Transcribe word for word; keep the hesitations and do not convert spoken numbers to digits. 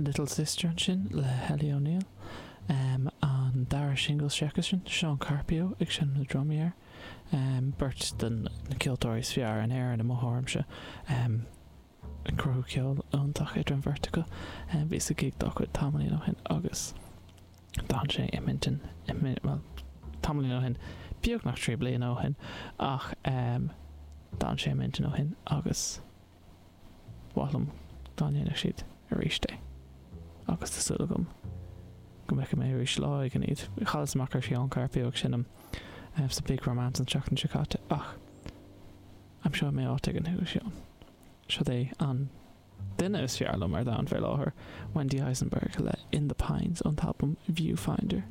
Little Sister ansin le Helly O'Neill. Um, an dara singil s'aicisean, Sean Carpio ag seinm na drumaí air. Um, beirt den na ceoltóirí is fearr in Éirinn i mo thuairimse. Um, ag cruthú ceol iontach idir an bheirt acu. Um, bhíos ag gig dá chuid tamaillín ó shin agus d'fhan sé i m'intinn well, tamaillín ó shin beagnach trí bliana ó shin ach um, d'fhan sé i m'intinn ó shin agus ba mhaith liom dá ndéanfadh siad arís é. Agus tá súil agam go mbeidh mé arís lá éigin iad. Chailleas amach ar Sean Carpio ag seinm um, sa Big Romance an tseachtain seo caite ach aimseoidh mé áit éigin thú Sean. Seo é an duine is fearr liom ar domhan fé láthair, Wendy Eisenberg le In the Pines ón albam Viewfinder.